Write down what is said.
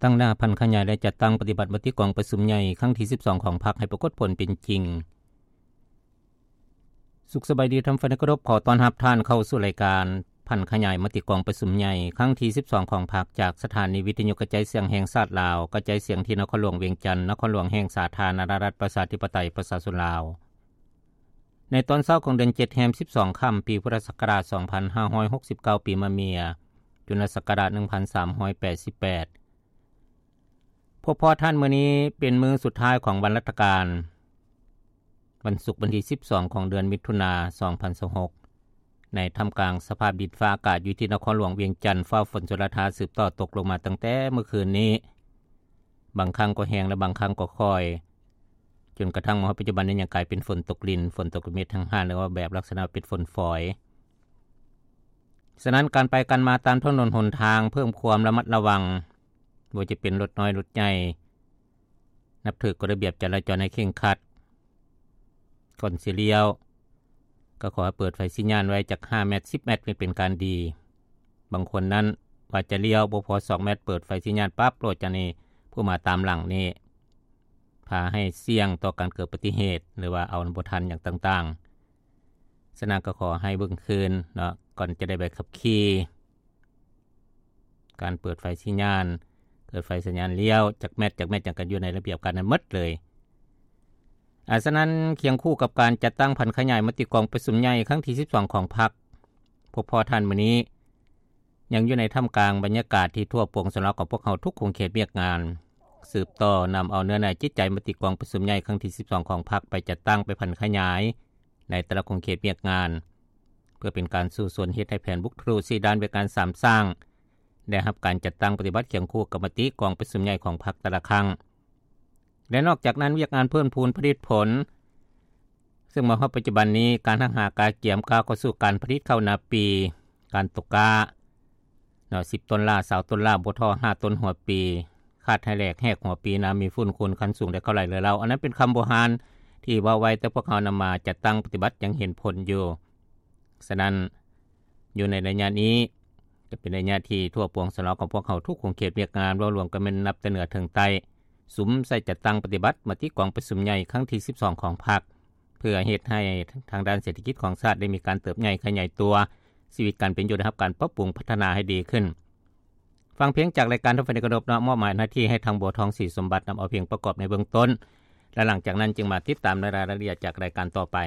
ຕັ້ງໜ້າຜັນຂະຫຍາຍ ແລະ ຈັດຕັ້ງປະຕິບັດມະຕິກອງປະຊຸມໃຫຍ່ຄັ້ງທີສິບສອງຂອງພັກໃຫ້ປາກົດຜົນເປັນຈິງ. ສຸກສະບາຍດີທ່ານຜູ້ຟັງທີ່ເຄົາລົບ, ຂໍຕ້ອນຮັບທ່ານເຂົ້າສູ່ລາຍການຜັນຂະຫຍາຍມະຕິກອງປະຊຸມໃຫຍ່ຄັ້ງທີສິບສອງຂອງພັກ ຈາກສະຖານີວິທະຍຸກະຈາຍສຽງແຫ່ງຊາດລາວ, ກະຈາຍສຽງທີ່ນະຄອນຫຼວງວຽງຈັນ, ນະຄອນຫຼວງແຫ່ງສາທາລະນະລັດປະຊາທິປະໄຕປະຊາຊົນລາວ. ໃນຕອນເຊົ້າຂອງເດືອນເຈັດແຮມສິບສອງຄ່ຳ ປີພຸດທະສັກກະລາດສອງພັນຫ້າຮ້ອຍຫົກສິບເກົ້າ ປີມະເມຍ ຈຸລະສັກກະລາດໜຶ່ງພັນສາມຮ້ອຍແປດສິບແປດ ພົບພໍ້ທ່ານມື້ນີ້ເປັນມື້ສຸດທ້າຍຂອງວັນລັດຖະການ ວັນສຸກວັນທີສິບສອງຂອງເດືອນມິຖຸນາ ສອງພັນຊາວຫົກ ໃນທ່າມກາງສະພາບດິນຟ້າອາກາດຢູ່ທີ່ນະຄອນຫຼວງວຽງຈັນ ຟ້າຝົນຊົນລະທາສືບຕໍ່ຕົກລົງມາຕັ້ງແຕ່ມື້ຄືນນີ້ ບາງຄັ້ງກໍແຮງ ແລະ ບາງຄັ້ງກໍຄ່ອຍ ຈົນກະທັ້ງມາຮອດປັດຈຸບັນນີ້ຍັງກາຍເປັນຝົນຕົກລິນ, ຝົນຕົກເມັດແຫ້ງໆ ຫຼືວ່າແບບລັກສະນະເປັນຝົນຝອຍ. ສະນັ້ນການໄປການມາຕາມຖະໜົນຫົນທາງເພີ່ມຄວາມລະມັດລະວັງ, ບໍ່ວ່າຈະເປັນລົດນ້ອຍລົດໃຫຍ່, ນັບຖືກກົດລະບຽບຈະລາຈອນໃຫ້ເຄັ່ງຄັດ. ກ່ອນຊິລ້ຽວ ກໍຂໍໃຫ້ເປີດໄຟສັນຍານໄວ້ຈັກຫ້າແມັດ ສິບແມັດ ເປັນການດີ. ບາງຄົນນັ້ນວ່າຈະລ້ຽວບໍ່ພໍສອງແມັດ ເປີດໄຟສັນຍານປັບໂລດ, ຈາກນີ້ຜູ້ມາຕາມຫຼັງນີ້ພາໃຫ້ສ່ຽງຕໍ່ການເກີດອຸບັດຕິເຫດ ຫຼືວ່າເອົາບໍ່ທັນຫຍັງຕ່າງໆ. ສະນັ້ນກໍຂໍໃຫ້ເບິ່ງຄືນເນາະ ກ່ອນຈະໄດ້ໃບຂັບຂີ່. ການເປີດໄຟສັນຍານ, ເປີດໄຟສັນຍານລ້ຽວ, ຈັກແມັດ, ຈັກແມັດຫຍັງກໍຢູ່ໃນລະບຽບການນັ້ນໝົດເລີຍ. ອາ, ສະນັ້ນຄຽງຄູ່ກັບການຈັດຕັ້ງຜັນຂະຫຍາຍມະຕິກອງປະຊຸມໃຫຍ່ຄັ້ງທີສິບສອງຂອງພັກ, ພົບພໍ້ທ່ານມື້ນີ້ ຍັງຢູ່ໃນທ່າມກາງບັນຍາກາດທີ່ທົ່ວປວງຊົນລາວຂອງພວກເຮົາທຸກຂົງເຂດວຽກງານ ສືບຕໍ່ນຳເອົາເນື້ອໃນຈິດໃຈມະຕິກອງປະຊຸມໃຫຍ່ຄັ້ງທີສິບສອງຂອງພັກໄປຈັດຕັ້ງ, ໄປຜັນຂະຫຍາຍໃນແຕ່ລະຂົງເຂດວຽກງານ ເພື່ອເປັນການສູ້ຊົນເຮັດໃຫ້ແຜນບຸກທະລຸສີ່ດ້ານວຽກງານສາມສ້າງ ໄດ້ຮັບການຈັດຕັ້ງປະຕິບັດຄຽງຄູ່ກັບມະຕິກອງປະຊຸມໃຫຍ່ຂອງພັກແຕ່ລະຄັ້ງ. ແລະ ນອກຈາກນັ້ນ ວຽກງານເພີ່ມພູນຜະລິດຜົນ ເຊິ່ງມາຮອດປັດຈຸບັນນີ້ ການຮັກຫາກະກຽມກ້າວເຂົ້າສູ່ການຜະລິດເຂົ້ານາປີ, ການຕົກກ້າເນາະ ສິບໂຕນລາ, ຊາວໂຕນລາ, ບໍ່ທໍ່ຫ້າໂຕນຫົວປີ, ຄາດໃຫ້ແຫຼກແຮກຫົວປີ, ນ້ຳມີຝຸ່ນຂຸ່ນ, ຄັນສູງ ແລະ ເຂົ້າໄຫຼເຫຼືອເຫຼົ່າ. ອັນນັ້ນເປັນຄຳບູຮານທີ່ເວົ້າໄວ້, ແຕ່ພວກເຮົານຳມາຈັດຕັ້ງປະຕິບັດຍັງເຫັນຜົນຢູ່. ສະນັ້ນ ຢູ່ໃນໄລຍະນີ້ ຈະເປັນໄລຍະທີ່ທົ່ວປວງຊົນລາວຂອງພວກເຮົາທຸກຂົງເຂດວຽກງານ ເວົ້າລວມກັນແມ່ນນັບແຕ່ເໜືອເຖິງໃຕ້ ສຸມໃສ່ຈັດຕັ້ງປະຕິບັດມະຕິກອງປະຊຸມໃຫຍ່ຄັ້ງທີສິບສອງຂອງພັກ ເພື່ອເຮັດໃຫ້ທາງດ້ານເສດຖະກິດຂອງຊາດໄດ້ມີການເຕີບໃຫຍ່ຂະຫຍາຍຕົວ, ຊີວິດການເປັນຢູ່ໄດ້ຮັບການປັບປຸງພັດທະນາໃຫ້ດີຂຶ້ນ. ຟັງພຽງຈາກລາຍການທ່ານຜູ້ຟັງທີ່ເຄົາລົບເນາະ, ມອບໝາຍໜ້າທີ່ໃຫ້ທາງບົວທອງ ສີສົມບັດ ນຳເອົາພຽງປະກອບໃນເບື້ອງຕົ້ນ ແລະ ຫຼັງຈາກນັ້ນຈຶ່ງມາຕິດຕາມໃນລາຍລະອຽດຈາກລາຍການຕໍ່ໄປ.